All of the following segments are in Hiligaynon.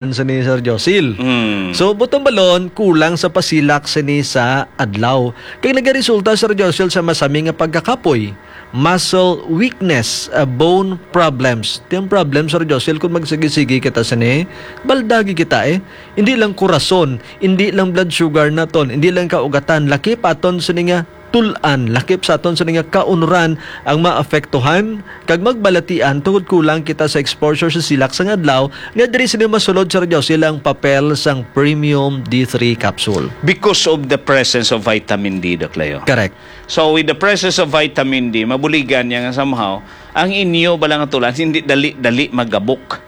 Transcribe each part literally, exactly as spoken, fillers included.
sini, Sir Josil. Mm. So, butang balon, kulang sa pasilak sini sa adlaw. Kay nagaresulta, Sir Josil, sa masami nga pagkakapoy, muscle weakness, uh, bone problems. Ti ang problem, Sir Josil, kung magsigi-sigi kita sini, baldagi kita eh. Hindi lang kurason, hindi lang blood sugar naton, hindi lang kaugatan, lakip aton sini nga tul-an, lakip sa aton sini nga kaunuran ang maapektuhan kag magbalatian tungod kulang kita sa exposure sa silak sang adlaw, nga diri sini masulod, Sir Josil, ang papel sang premium D three capsule. Because of the presence of vitamin D, Doc Leo. Correct. So, with the presence of vitamin D, mabuligan niya nga somehow, ang inyo bala nga tul-an, hindi dali-dali magabok.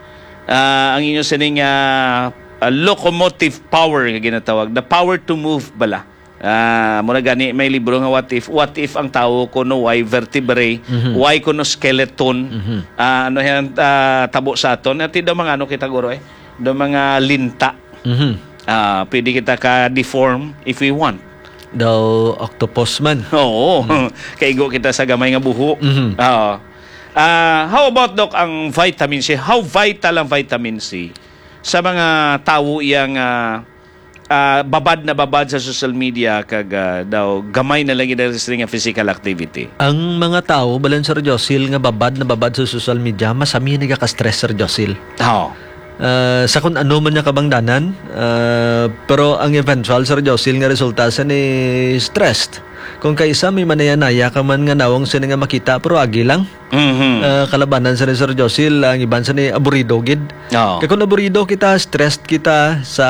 Ah, ang inyo sining, ah, ah, locomotive power nga ginatawag, the power to move bala. Ah, mura gani may libro nga What If. What if ang tawo kuno way vertebrae, Mhm. way kuno skeleton? Mhm. Ah, ano yan, ah, tabo sa aton? Ati daw mga ano kita, guro, eh? Daw mga linta. Mhm. Ah, pwede kita ka-deform if we want. Daw octopus man. Oo. Mhm. Kaigo kita sa gamay nga buho. Mhm. Oo. Ah, how about, Doc, ang vitamin C? How vital ang vitamin C sa mga tawo yang, ah, ah, babad na babad sa social media kag, ah, daw gamay na lang gid ang sila nga physical activity? Ang mga tawo, balan, Sir Josil, nga babad na babad sa social media, masami nagaka-stress, Sir Josil. Oo. Ah, sa kung ano man niya kabangdanan, ah, pero ang eventual, Sir Josil, nga resulta sa ni stressed. Kung kaisa may manaya-naya ka man nga nawong sini nga makita, pero agi lang. Mhm. Ah, kalabanan sa ni Sir Josil, ang iban sa ni aburido gid. Oo. Kay kung aburido kita, stressed kita sa,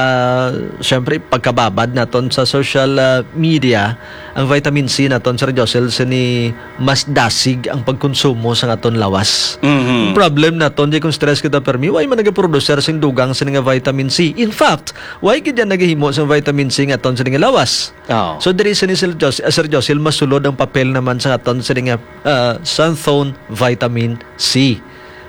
syempre, pagkababad naton sa social, ah, media, ang vitamin C naton, Sir Josil, sini mas dasig ang pagkonsumo sa aton lawas. Mhm. Ang problem naton, di kung stress kita permi, way man nagaproducer sing dugang sini nga vitamin C. In fact, way gid yan nagahimo sa vitamin C nga aton sini nga lawas. Oo. So, diri sini, Sir Jos-, Sir Josil, masulod ang papel naman sa aton sini nga, ah, xanthone vitamin C.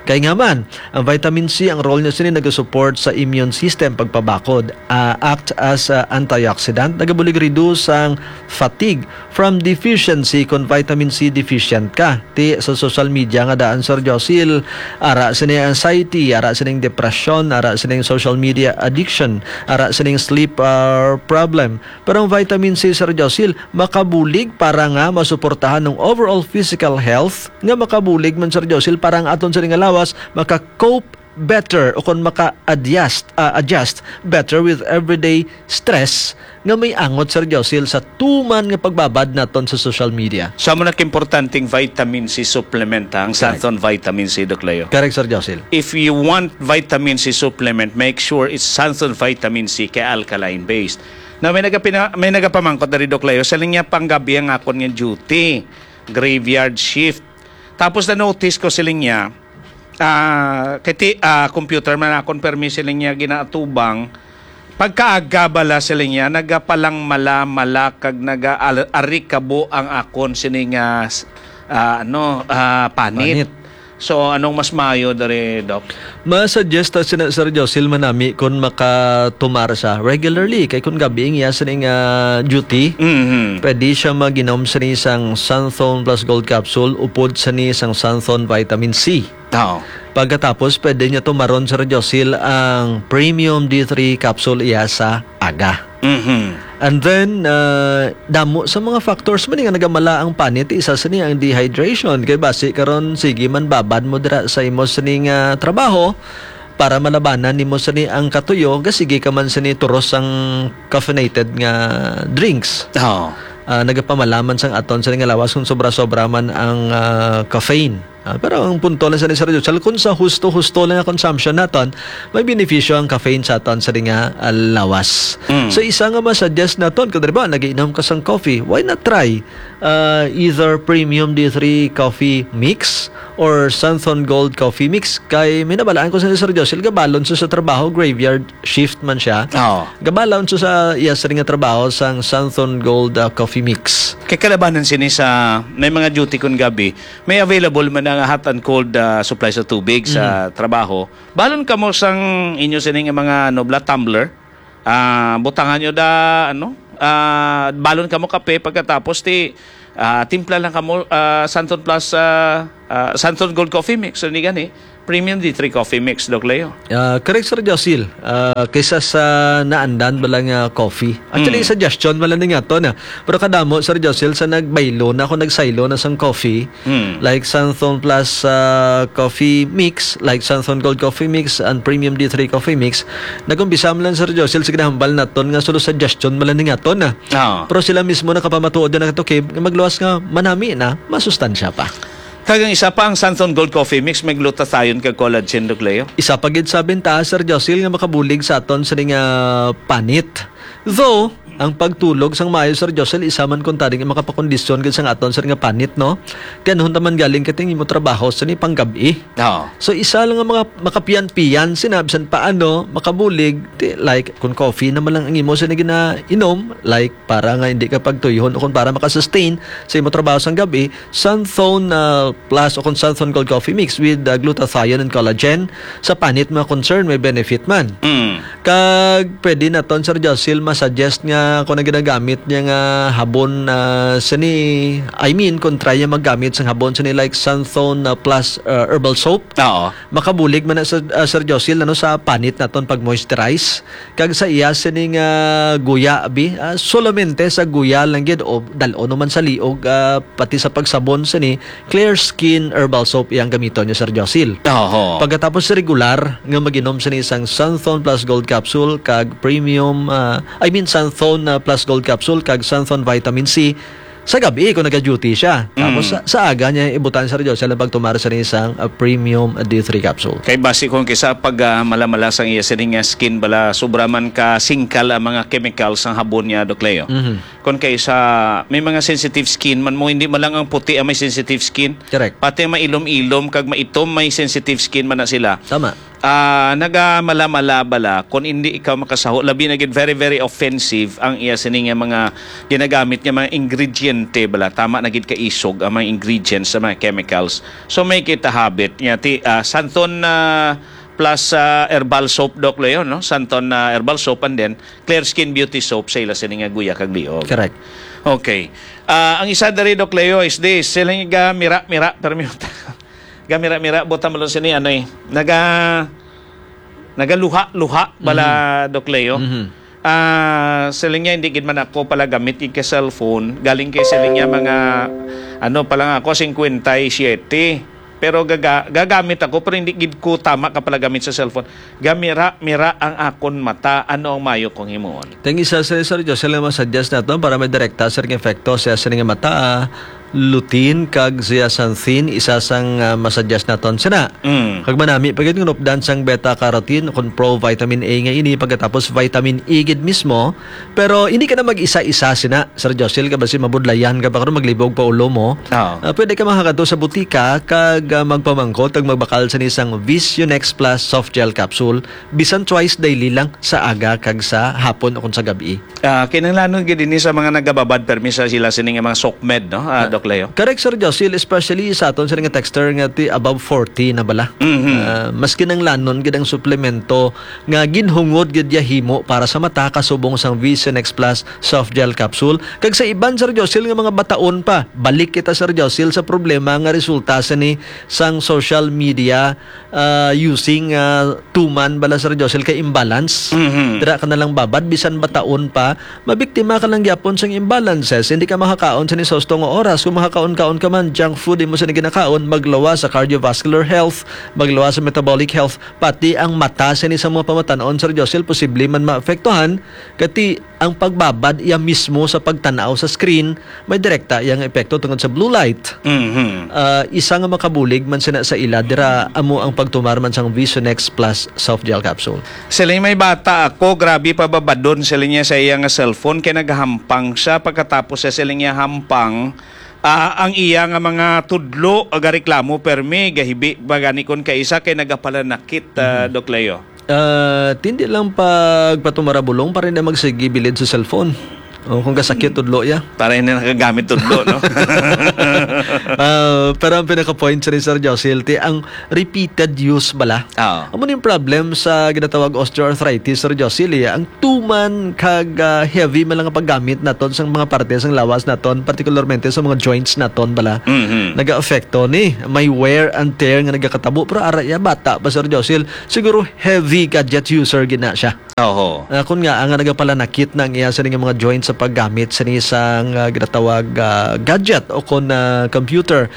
Kay nga man, ang vitamin C, ang role niya sini nagasupport sa immune system, pagpabakod, ah, act as, ah, antioxidant, nagabulig reduce ang fatigue from deficiency kung vitamin C deficient ka. Ti sa social media nga daan, Sir Josil, ara sini anxiety, ara sining depression, ara sining social media addiction, ara sining sleep, ah, problem. Pero ang vitamin C, Sir Josil, makabulig para nga masuportahan ang overall physical health, nga makabulig man, Sir Josil, para ang aton sini nga lawas maka-cope better o kon maka-adjust, ah, adjust better with everyday stress nga may angot, Sir Josil, sa tuman nga pagbabad naton sa social media. Sa mo na importanteng vitamin C supplement, ha, ang Correct. Xanthone vitamin C, Doc Leo. Correct, Sir Josil. If you want vitamin C supplement, make sure it's Xanthone vitamin C kay alkaline based. Now, may nagapina-, may nagapamangkot diri, Doc Leo, sa linya panggabi ang akon nga duty, graveyard shift. Tapos na-notice ko sa linya, ah, kay ti-, ah, computer man akon permi sa linya ginaatubang, pagkaaga bala sa linya, nagapalangmala-mala kag naga-, al-, arikabo ang akon sini nga, s-, ah, ano, ah, panit. Panit. So, anong mas maayo diri, Doc? Ma-suggest ta sina Sir Josil manami kung makatumar siya regularly. Kay kung gabi ang iya sining, ah, duty, Mhm. pwede siya mag-inom sini sang Xanthone Plus Gold Capsule upod sini sang Xanthone Vitamin C. Oo. Pagkatapos, pwede niya tumaron, Sir Josil, ang Premium D three Capsule iya sa aga. Mhm. And then, ah, damo sa mga factors man nga nagamala ang panit, isa sini ang dehydration. Kay basi karon, sige man babad mo dira sa imo sini nga trabaho para malabanan nimo sini ang katuyo, ga sige ka man sini turos ang caffeinated nga drinks. Oo. Ah, nagapamalaman sang aton sini nga lawas kung sobra-sobra man ang, ah, caffeine. Ah, pero ang punto lang sa ni Sir Joel, kung sa husto-husto lang ang consumption naton, may benepisyo ang caffeine sa aton sa nga, ah, lawas. Mm. So, isa nga ma-suggest naton, kung, di ba, nagiinom ka sang coffee, why not try, ah, either Premium D three Coffee Mix or Santhon Gold Coffee Mix? Kay may nabalaan ko sa ni Sir Joel, gabalon sa, sa trabaho, graveyard shift man siya. Oo. Gabalon sa, sa iya sa nga trabaho sang Santhon Gold, ah, Coffee Mix. Kay kalabanan sini sa may mga duty kun gabi, may available man ang hot and cold, ah, supply sa tubig sa Mhm. trabaho. Balon kamo sang inyo sini nga mga, ano, bla, tumbler. Ah, butangan nyo da, ano, ah, balon kamo kape pagkatapos ti, ah, timpla lang kamo, ah, Santon Plus, ah, ah, Santon Gold Coffee Mix. So, ni gani, Premium D three Coffee Mix, Doc Leo. Ah, correct, Sir Josil. Ah, kaysa sa naandan bala nga coffee. Actually, Mm. suggestion bala ni nga to na. Pero kadamo, Sir Josil, sa nagbaylo na, ako nagsaylo na sang coffee, Mm. like Santhon Plus, ah, Coffee Mix, like Santhon Gold Coffee Mix and Premium D three Coffee Mix, nag-umpisa man lang, Sir Josil, sige na, hambal naton nga solo suggestion bala ni nga to na. Ah. Pero sila mismo nakapamatuod na nato, okay, magluwas nga manami na, masustansya pa. Kag ang isa pa, ang Santhon Gold Coffee Mix, may glutathione kag collagen, Doc Leo. Isa pa gid sa bentaha, Sir Josil, nga makabulig sa aton sini nga panit. Though, ang pagtulog sang maayo, Sir Josil, isa man kuntani nga makapakondisyon gid sang aton sini nga panit, no? Kay ano ta man galing kay ang imo trabaho sini panggab-i. Oo. So, isa lang nga mga makapiyan-piyan sina, bisan paano, makabulig, ti, like, kung coffee naman lang ang imo sini ginainom, like, para nga hindi ka pagtuyhon o kung para makasustain sa imo trabaho sang gab-i, Santhon, ah, Plus o kung Santhon Gold Coffee Mix with, ah, glutathione and collagen. Sa panit mga concern, may benefit man. Mm. Kag pwede naton, Sir Josil, masuggest nga kung ang ginagamit niya nga habon, ah, sini, I mean, kung try niya maggamit sang habon sini like Santhon, ah, Plus, ah, Herbal Soap, Oo. makabulig man na, Sir, ah, Sir Josil, ano, sa panit naton pag-moisturize. Kag sa iya sining, ah, guya, abi, ah, solamente sa guya lang gid o dal-on naman sa liog, ah, pati sa pagsabon sini, Clear Skin Herbal Soap iyang gamiton niya, Sir Josil. Oho. Pagkatapos regular nga mag-inom sini sang Santhon Plus Gold Capsule kag Premium, ah, I mean, Santhon, ah, Plus Gold Capsule kag Santhon Vitamin C, sa gab-i kung naga-duty siya. Tapos Mm. sa, sa aga niya ibutan, Sir Josil, ang pagtumar sa isang, ah, premium D three capsule. Kay basi kung kisa pag, ah, malamala sang iya sining nga skin bala, sobra man ka singkal ang mga chemicals sang habon niya, Doc Leo. Mhm. Kung kay sa may mga sensitive skin man mo, hindi man lang ang puti ang may sensitive skin. Correct. Pati ang mailom-ilom kag maitom may sensitive skin man na sila. Tama. Ah, nagamala-mala bala kung hindi ikaw makasaho, labi na gid very, very offensive ang iya sini nga mga ginagamit nga mga ingrediente bala. Tama na gid ka isog ang mga ingredients sa mga chemicals. So may kita habit nga ti, ah, Santon, ah, plus, ah, herbal soap, Doc Leo, no? Santon, ah, herbal soap, and then Clear Skin Beauty Soap sa ila sini nga guya kag liog. Correct. Okay. Ah, ang isa diri, Doc Leo, is this. Sila nga mira-mira, permi gamira-mira, buta mo lang sini, ano eh, naga-, nagaluha-luha bala, Mhm. Doc Leo. Mhm. Ah, siling niya, hindi gid man ako pala gamit gid ka cellphone. Galing kay siling niya mga, ano pa lang ako, singkwenta y siyete. Pero gaga-, gagamit ako, pero hindi gid ko tama ka pala gamit sa cellphone. Gamira-mira ang akon mata. Ano ang mayo kong himuon? Ting isa sa Sir Josel nga masuggest naton para may direkta sa ring epekto sa sining mata, ah, lutein kag zeaxanthin, isa sang, ah, masuggest naton sina. Mm. Kag manami pa gid nga nupdan sang beta carotene, kon pro vitamin A nga ini, pagkatapos vitamin E gid mismo. Pero hindi ka na mag-isa-isa sina, Sir Josel, kay basi mabudlayan ka pa karon, maglibog pa ulo mo. Oo. Ah, pwede ka makakadto sa butika kag, ah, magpamangkot kag magbakal sa isang Visionex Plus soft gel capsule, bisan twice daily lang, sa aga kag sa hapon o kon sa gab-i. Ah, kinahanglanon gid ini sa mga nagababad permi sa sila sini nga mga SOCMED, no? Ah, Ah, Doc Leo? Correct, Sir Josil, especially sa aton sini nga texter nga ti above forty na bala. Mhm. Ah, mas kinahanglanon gid ang suplemento nga ginhungod gid ya himo para sa mata, kasubong sang Visionex Plus soft gel capsule. Kag sa iban, Sir Josil, nga mga bataon pa, balik kita, Sir Josil, sa problema nga resulta sini sang social media, ah, using, ah, tuman bala, Sir Josel, kay imbalance. Mhm. Dira ka na lang babad, bisan bataon pa, mabiktima ka lang gyapon sang imbalances. Hindi ka makakaon sa ni sa husto nga oras. Kung makakaon-kaon ka man, junk food, imo sa ni ginakaon, maglawas sa cardiovascular health, maglawas sa metabolic health, pati ang mata sa ni sa mga pamatan-on, Sir Josel, posible man maapektuhan. Kati ang pagbabad iya mismo sa pagtan-aw sa screen, may direkta iya nga epekto tungod sa blue light. Mhm. Ah, isa nga makabulig man sina sa ila, dira amo ang pagtumar man sang Visionex Plus soft gel capsule. Sila may bata ako, grabe pababadon sila niya sa iya nga cellphone, kay nagahampang siya. Pagkatapos siya sila niya hampang, ah, ang iya nga mga tudlo, agareklamo permi, gahibi ba gani kon kaisa kay nagapalanakit, ah, Mhm. Doc Leo? Ah, tindi lang pagpatumara bulong, para hindi magsigi bilid sa cellphone. O, kung kasakit, tudlo ya. Para hindi nakagamit tudlo, no? Ah, pero ang pinaka-point sa ni Sir Josil, ti, ang repeated use bala. Oo. Amo ni yung problem sa ginatawag osteoarthritis, Sir Josil, eh. Ang tuman kag, ah, heavy man lang ang paggamit naton sa mga parte sang lawas naton, particularmente sa mga joints naton bala. Mhm. Nagaapekto ni. May wear and tear nga nagakatabo. Pero ara ya, bata pa, Sir Josil. Siguro heavy gadget user gina siya. Oho. Ah, kun nga, ang nagapalanakit na ang iya sa nga mga joints sa paggamit sa isang, ah, ginatawag, ah, gadget o kon, ah, computer.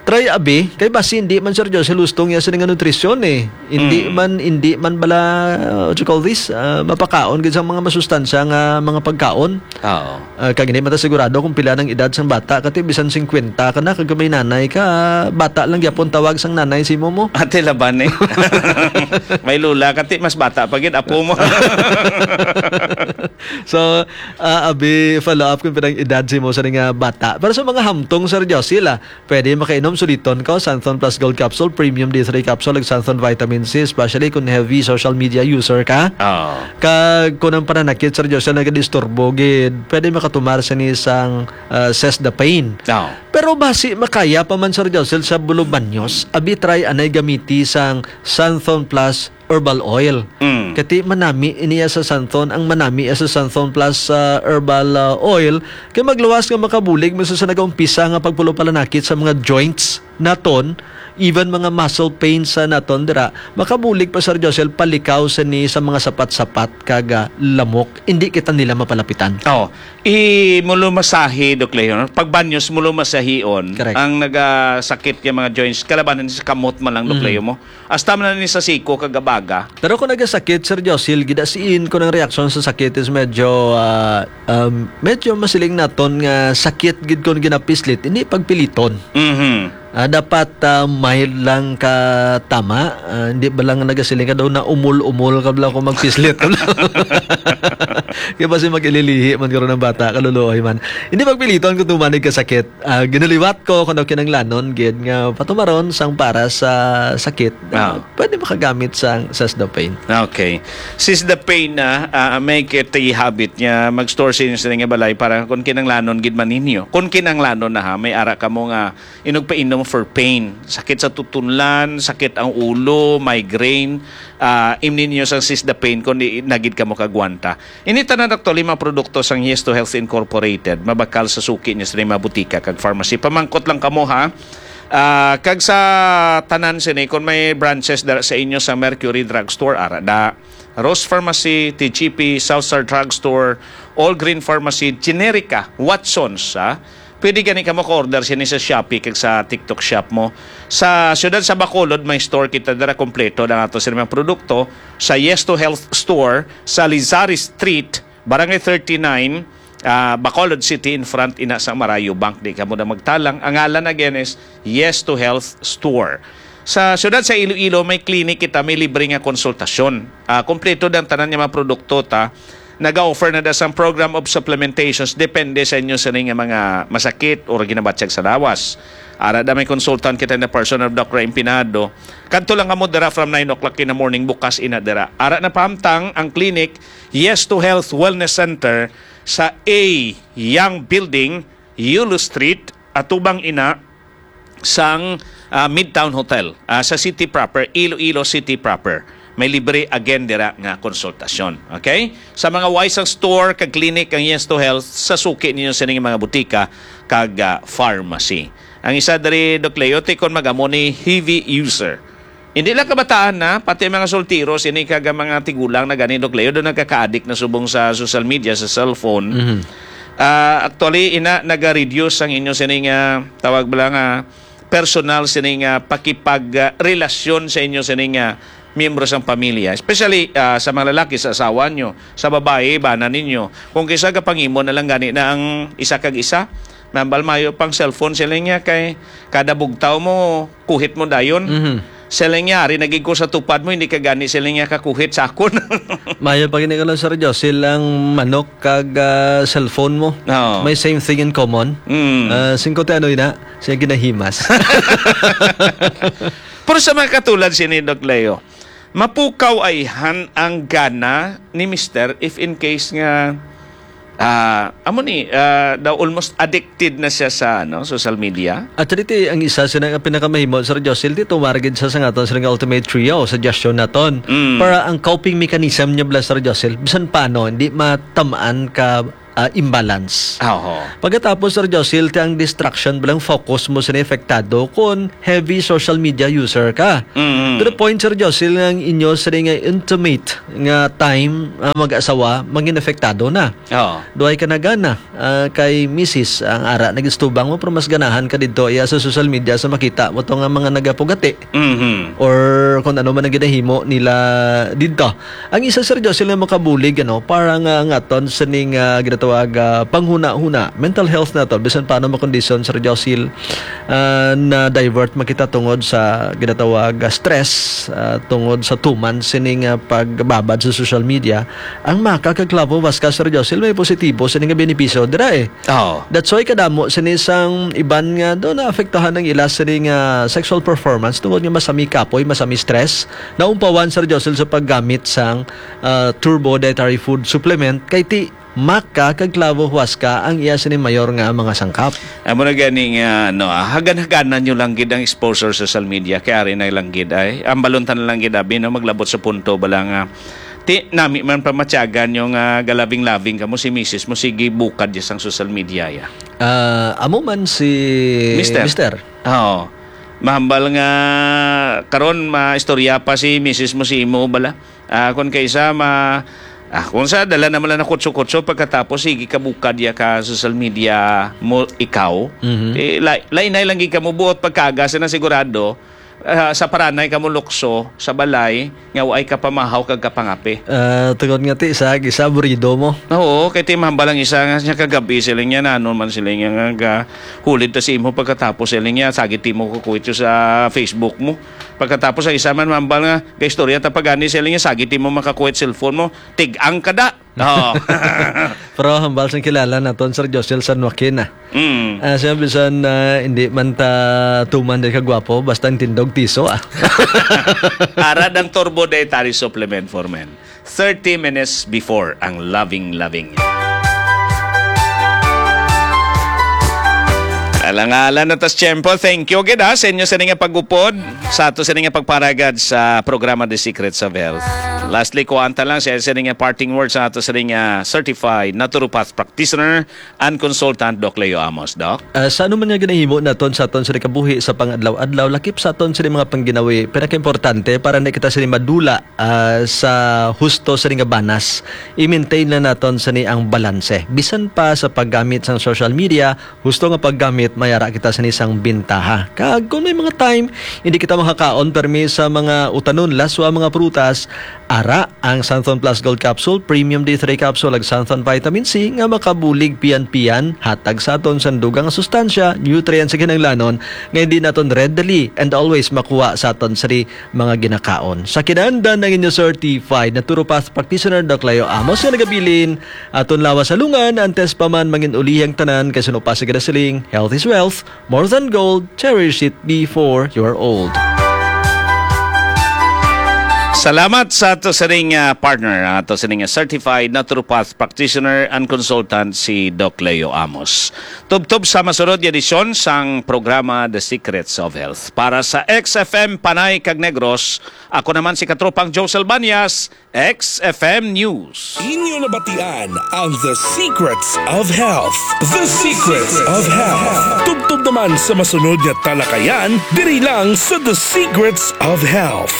Try abi, kay basi hindi man, Sir Josil, husto niya sa nga nutrisyon, eh. Hindi Mm. man, hindi man bala, ah, what you call this? Ah, mapakaon gid sa mga masustansya nga mga pagkaon. Oo. Ah, kag hindi man ta sigurado kung pila nang edad sang bata, kati bisan singkwenta ka na, kag may nanay ka, bata lang gyapon tawag sang nanay si mo mo. Ate laban eh. May lula, kati mas bata pa gid apo mo. So, ah, abi, follow up kung pinang edad si mo sa nga bata. Pero sa mga hamtong, Sir Josil, ah, pwede makainom suliton ka, Santhon Plus Gold Capsule, Premium D three Capsule, ug Santhon Vitamin C, especially kung heavy social media user ka. Oo. Kag kung ang pananakit, Sir Josil, nagadisturbo gid, pwede makatumar sa ni sang, ah, Sesdapane. Oo. Pero basi makaya pa man, Sir Josil, sa bulubanyos, abi try anay gamiti sang Santhon Plus Herbal Oil. Mm. Kati manami iniya sa Santhon, ang manami sa Santhon Plus, ah, Herbal, ah, Oil, kay magluwas nga makabulig man sa nagaumpisa nga pagpulo palanakit sa mga joints naton, even mga muscle pains sa naton dira, makabulig pa, Sir Josil, palikaw sa ni sa mga sapat-sapat kag, ah, lamok. Hindi kita nila mapalapitan. Oo. I-, mulumasahi, Doc Leo, no? Pag banyos, mulumasahion. Correct. Ang nagasakit nga mga joints, kalabanan sa kamot man lang, Doc Mhm. Leo, mo. Hasta man ni sa siko kag abaga. Pero kung nagasakit, Sir Josil, gidasiin ko ng reaksyon sa sakit is medyo, ah, um, medyo masiling naton nga sakit gid kung ginapislit, hindi pagpiliton. Mhm. Ah, dapat, ah, mild lang ka tama. Ah, hindi ba lang nagasiling ka daw na umol-umol ka bala kung magpislit? Kaya basi mag-ililihi man karon ang bata, kaluluoy man. Hindi pagpiliton kung tumanig ka sakit. Ah, ginaliwat ko kung ano kinanglanon gid nga patumaron sang para sa sakit. Ah, Ah. pwede makagamit sang Sesdapane. Okay. Sesdapane na, ah, may kiti habit niya mag-store sa inyo sa inyong balay para kung kinanglanon gid man ninyo. Kung kinanglanon na ha, may ara kamo nga inugpainom for pain. Sakit sa tutunlan, sakit ang ulo, migraine, ah, imnin niyo sang Sesdapane kung di na gid kamo kagwanta. Ini tanan, actually, mga produkto sang Yes to Health Incorporated, mabakal sa suki niyo sa mga butika kag pharmacy. Pamangkot lang kamo, ha. Ah, kag sa tanan sini, kung may branches dara sa inyo sa Mercury Drugstore, ara da. Rose Pharmacy, T G P, South Star Drugstore, All Green Pharmacy, Generica, Watsons, ha. Pwede gani ka maka-order sini sa Shopee kag sa TikTok Shop mo. Sa siyudad sa Bacolod, may store kita dira kompleto ang ato sa mga produkto. Sa Yes to Health Store, sa Lizares Street, Barangay thirty-nine, ah, Bacolod City, in front ina sa Marayo Bank. Di ka mo na magtalang. Ang ngalan again is Yes to Health Store. Sa siyudad sa Iloilo, may clinic kita, may libre nga konsultasyon. Ah, kompleto ang tanan nga mga produkto ta. Naga-offer na da sang program of supplementations, depende sa inyo sa nga mga masakit o ginabatyag sa lawas. Ara da may consultant kita in the person of Doctor Empinado. Kadto lang kamo dira from nine o'clock in the morning, bukas ina dira. Ara na pahamtang ang clinic, Yes to Health Wellness Center sa A Young Building, Yulo Street, atubang ina sang, ah, Midtown Hotel, ah, sa city proper, Iloilo City proper. May libre again dira nga konsultasyon. Okay? Sa mga way sang store kag clinic ang Yes to Health sa suki ninyo sining mga butika kag, ah, pharmacy. Ang isa diri, Doc Leo, ti kon mag-amo ni heavy user. Hindi lang kabataan na, pati mga soltero, sini kag mga tigulang na gani, Doc Leo, doon nagkaka-addict na subong sa social media, sa cellphone. Mhm. Ah, actually, ina, naga-reduce ang inyo sining, ah, tawag ba lang, ah, personal sining, ah, pakipag, ah, relasyon sa inyo sining, ah, miyembro sang pamilya. Especially, ah, sa mga lalaki, sa asawa nyo, sa babayi, bana ninyo. Kung kisa gapangimo na lang gani na ang isa kag isa, nambal mayo pang cellphone sila niya kay kada bugtaw mo, kuhit mo dayon. Mhm. Sila niya, ari nagig ko sa tupad mo, hindi ka gani sila niya kakuhit sa akon. Mayo pa gini ka lang, Sir Josil, ang manok kag, ah, cellphone mo. Oo. May same thing in common. Mm. Ah, singko ti ano ina, siya ginahimas. Pero sa mga katulad sini, Doc Leo, mapukaw ayhan ang gana ni Mister if in case nga, Ah, amo ni, ah, daw almost addicted na siya sa, ano, social media. At dito, ang isa sa nga pinakamahimo, Sir Josil, dito maragid sa, sa nga aton sa nga ultimate trio, suggestion naton. Mm. Para ang coping mechanism niya bala, Sir Josil, bisan paano, hindi matamaan ka, ah, imbalance. Ah, oo. Pagkatapos, Sir Josil, ti ang distraction, balang focus mo sa apektado kung heavy social media user ka. Mm. To the point, Sir Josil, nga ang inyo sa nga intimate nga time, ah, mag-asawa, maging apektado na. Oo. Duhay ka na gana, ah, kay misis, ang ara nagistubang mo, pero mas ganahan ka didto iya sa social media sa makita mo to nga mga nagapugati. Mhm. Or kung ano man ang ginahimo nila didto. Ang isa, Sir Josil, nga makabulig, ano, para nga, nga aton sining, ah, ginatawag, ah, panghuna-huna, mental health naton, bisan paano makondisyon, Sir Josil, ah, na divert makita tungod sa ginatawag, ah, stress, ah, tungod sa tuman sining, ah, pagbabad sa social media, ang maka kag clavo huasca, Sir Josil, may positibo sini nga benepisyo dira, eh. Oo. That's why kadamo sini sang iban nga do naapektuhan ang ila sini nga sexual performance tungod nga masami kapoy, masami stress. Naumpawan, Sir Josil, sa paggamit sang, ah, turbo dietary food supplement kay ti maka kag clavo huasca ang iya sini mayor nga mga sangkap. Amo na gani nga, no, ah, hagan-haganan nyo lang gid ang exposure sa social media, kay ari na lang gid ay, ang baluntan na lang gid abi, no, maglabot sa punto ba lang nga, ti, nami man pamatyagan nyo nga galabing-labing kamo si misis mo, sige, bukad ya sang social media ya. Ah, amo man si Mister. Mister. Oo. Mahambal nga karon maistorya pa si misis mo si imo bala. Ah, kung kaysa ma-, ah, kung sa dala naman lang na kutso-kutso, pagkatapos sige ka bukad ya ka social media mo ikaw. Mhm. Eh, lay-, lainay lang gid kamo buot pagkaga sa na sigurado, ah, sa paranay kamo lukso sa balay nga waay ka pamahaw kag kapangape. Ah, tungod nga ti sa gisa burido mo. Oo, kay ti mahambal ang isa nga siya kagabi sila niya na ano man sila niya nga ga-, hulid ta si imo pagkatapos sila niya sagit ti mo kukuwit sa Facebook mo. Pagkatapos ang isa man mahambal nga gaistorya ta pagani sila niya sagit ti mo makakuwit cellphone mo. Tig-ang ka da. Oo. Pero hambal sang kilala naton, Sir Josel San Joaquin, ah. Mm. Ah, siya bisan, ah, hindi man ta tuman di kagwapo, basta ang tindog tiso, ah. Ara ang Turbo Dietary Supplement for Men. Thirty minutes before ang loving, loving. Alang-alang na tas tiyempo. Thank you gid, ha, sa inyo sa nga pag-upod sa ato sa nga pagparagad sa programa The Secrets of Health. Lastly, kuwanta lang sa, sa nga parting words sa ato sa nga certified naturopath practitioner and consultant, Doc Leo Amos, Doc. Ah, sa ano man nga ginahimo naton sa aton sa kabuhi sa pang-adlaw-adlaw, lakip sa aton sa mga pangginawi, pinakaimportante para na kita sa madula, ah, sa husto sa nga banas, i-maintain na naton sa ang balanse. Bisan pa sa paggamit sang social media, husto nga paggamit, may ara kita sa isang bintaha. Kag kung may mga time, hindi kita makakaon permi sa mga utanon, laswa, mga prutas, ara ang Xanthone Plus Gold Capsule, Premium D three Capsule, ag Xanthone Vitamin C nga makabulig pian-pian, hatag sa aton sang dugang nga sustansya, nutrients sa kinahanglanon nga hindi naton readily and always makuha sa aton sa mga ginakaon. Sa kinahanglan ang inyo certified naturopath practitioner, Doc Leo Amos, nga nagabilin, aton lawas sa lungan, antes pa man mangin-ulihi ang tanan, kay suno pa sa ginasiling, health is wealth, more than gold, cherish it before you're old. Salamat sa ato sa ring, ah, partner, ato sa ring, ah, certified naturopath practitioner and consultant si Doc Leo Amos. Tubtob sa masunod nga edisyon sang programa The Secrets of Health. Para sa X F M Panay kag Negros, ako naman si Katropang Josel Banyas, X F M News. Inyo nabatian ang The Secrets of Health. The Secrets of Health. Tubtob naman sa masunod nga talakayan, diri lang sa The Secrets of Health.